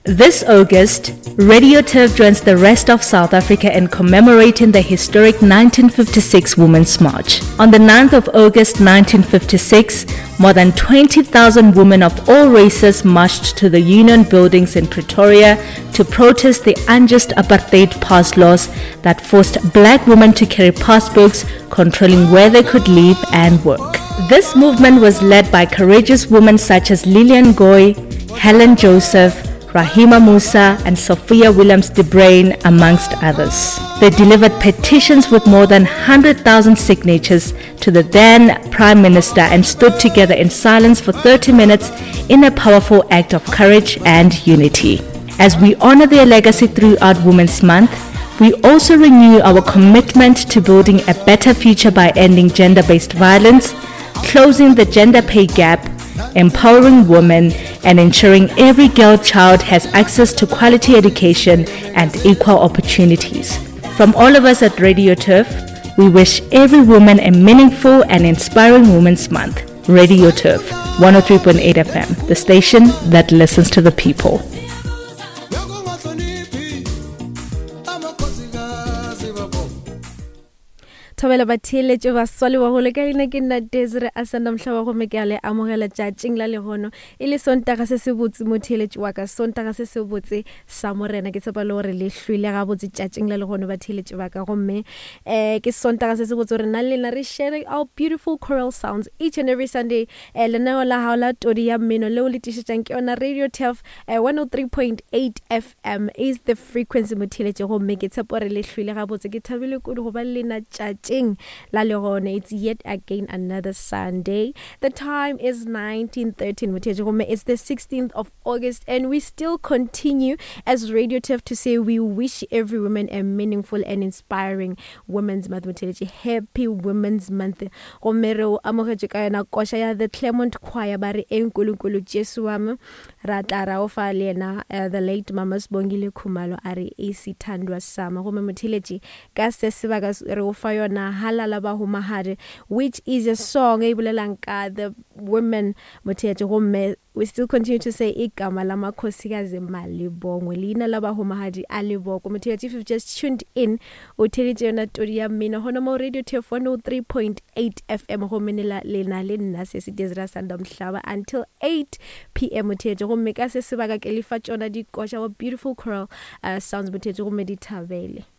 This August, Radio Turf joins the rest of South Africa in commemorating the historic 1956 Women's March. On the 9th of August 1956, more than 20,000 women of all races marched to the Union buildings in Pretoria to protest the unjust apartheid pass laws that forced black women to carry passbooks controlling where they could live and work. This movement was led by courageous women such as Lillian Goy, Helen Joseph, Rahima Moosa, and Sophia Williams de Bruyn, amongst others. They delivered petitions with more than 100,000 signatures to the then Prime Minister and stood together in silence for 30 minutes in a powerful act of courage and unity. As we honor their legacy throughout Women's Month, we also renew our commitment to building a better future by ending gender based violence, closing the gender pay gap, empowering women, and ensuring every girl child has access to quality education and equal opportunities. From all of us at Radio Turf, we wish every woman a meaningful and inspiring Women's Month. Radio Turf, 103.8 FM, the station that listens to the people. Thobela batheeletše baswa le bagolo ka leina ke nna Desire Asanda Mhlaba gomme ke a le amogela tšatšing la lehono e le Sontaga se se botse motheeletši wa ka Sontaga se se botse sa Morena ke tshepa le gore le hlwele gabotse tšatšing la lehono batheeletši ba ka gomme eh ke Sontaga se se botse gore nna le lena re share our beautiful choral sounds each and every Sunday eh lenaneo la gago la todi ya mmino leo le tišetšang ke yona Radio Turf eh, 103.8 FM is the frequency motheeletše gomme ke tshepo re le hlwile gabotse ke thabile kudu go ba le lena tšatšing la legone it's yet again another Sunday the time is 19:13 motheeletše gomme it's the 16th of August and we still continue as Radio Turf to say we wish every woman a meaningful and inspiring Women's Month motheeletše happy Women's Month gomme re o amogetše ka yona koša ya the Claremont Choir ba re e nkulunkulu Jesu wa me Ra tla ra o fa le yena uh, the late Mama Sibongile Khumalo a re isithandwa sama gomme motheletši ka se sebaka re o fa yona halala ba humahadi which is a song e bolelang ka the women motheletši gomme we still continue to say igama la makhosikazi malibongwe leina la bahumahadi a leboko motheletši if you've just tuned in o theletše yona todi ya mmino gona mo radio tf 103.8 fm gomme le na le nna se se desira sanda mhlaba until 8 pm motheetše gomme ka se sebaka ke lefa tšona dikoša wa beautiful choral uh, sounds motheetše gomme di thabele.